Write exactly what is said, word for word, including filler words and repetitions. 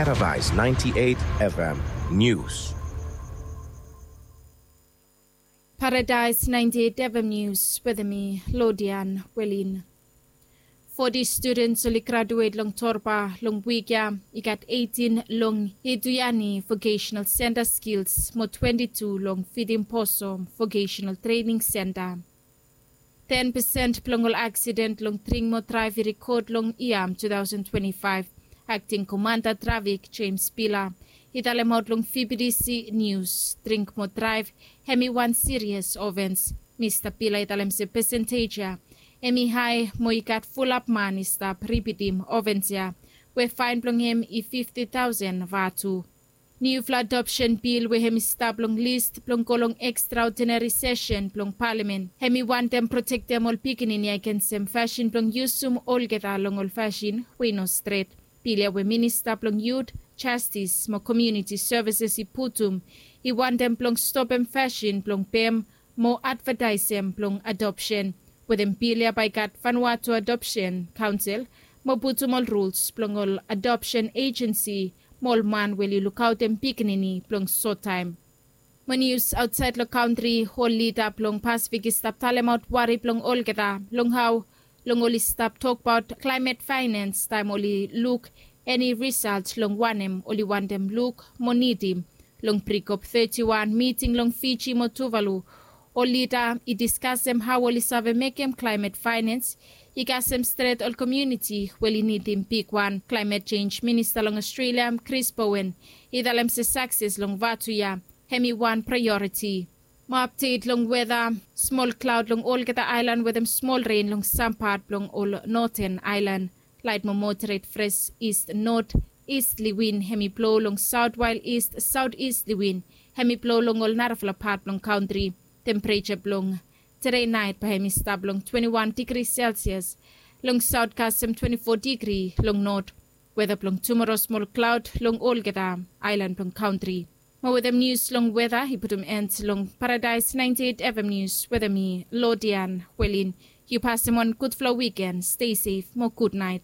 Paradise ninety-eight F M News. Paradise ninety-eight F M News wetem mi, Lodian Welin. Foti studens oli graduet long Torba long wik ya. I gat eighteen long Ituyani Vocational Center Skills mo twenty-two long Fidim Poso Vocational Training Center. Ten pesen blong ol aksiden long dring mo draev i rekod long yia two thousand twenty-five. Akting komanda trafik James Pila i talemaot long V B T C News, dring mo draev hemi wan sirias ofens. Mista Pila i talem se pesentej ya hemi hae mo i gat fulap man i stap ripitim ofens ya, we faen blong hem i fifti taosen vatu. Niufala adopsen bil we hemi stap long lis blong go long ekstraodinari sesen blong palamen hemi wantem protektem ol pikinini agensem fasin blong yusum olgeta long ol fasin we i no stret. Bil ya we minista blong yut, jastis mo komuniti sevises i putum i wantem blong stopem fasin blong pem mo advataesem blong adopsen. Wetem bil ya bae i gat Vanuatu Adopsen Kaonsel mo putum ol ruls blong ol adopsen ejensi mo ol man we oli lukaotem pikinini blong sottaem. Mo nius aotsaed long kantri, ol lida blong Pasifik i stap talemaot wari blong olgeta long hao long oli stap tokbaot klaemet faenens taem oli luk eni risalt long wanem oli wantem luk mo nidim. Long Pre-COP thirty-one miting long Fiji mo Tuvalu, ol lida i diskasem hao oli save mekem klaemet faenens i kasem stret ol komuniti we oli nidim bigwan. Klaemet jenj minista long Ostrelia, Chris Bowen, i talem se sakses long Vatu ya hemi wan praeoriti. Mo apdet long weta, smol klaod long olgeta aelan wetem smol ren long sam pat blong ol noten aelan. Laet mo moderet fres ist not istli win hemi blo long saot, wael ist saotistli win hemi blo long ol narafala pat blong kantri. Tempereja blong tede naet bae hemi stap long twenti wan digri Celsius, long saot kasem twenti fo digri long not. Weta blong tumoro smol klaod long olgeta aelan blong kantri. Mo wetem nius long weta i putum en long Paradise ninety-eight F M News wetem mi, Lodian Welin. Yu pasem wan gudfala wiken, stay safe mo gudnaet.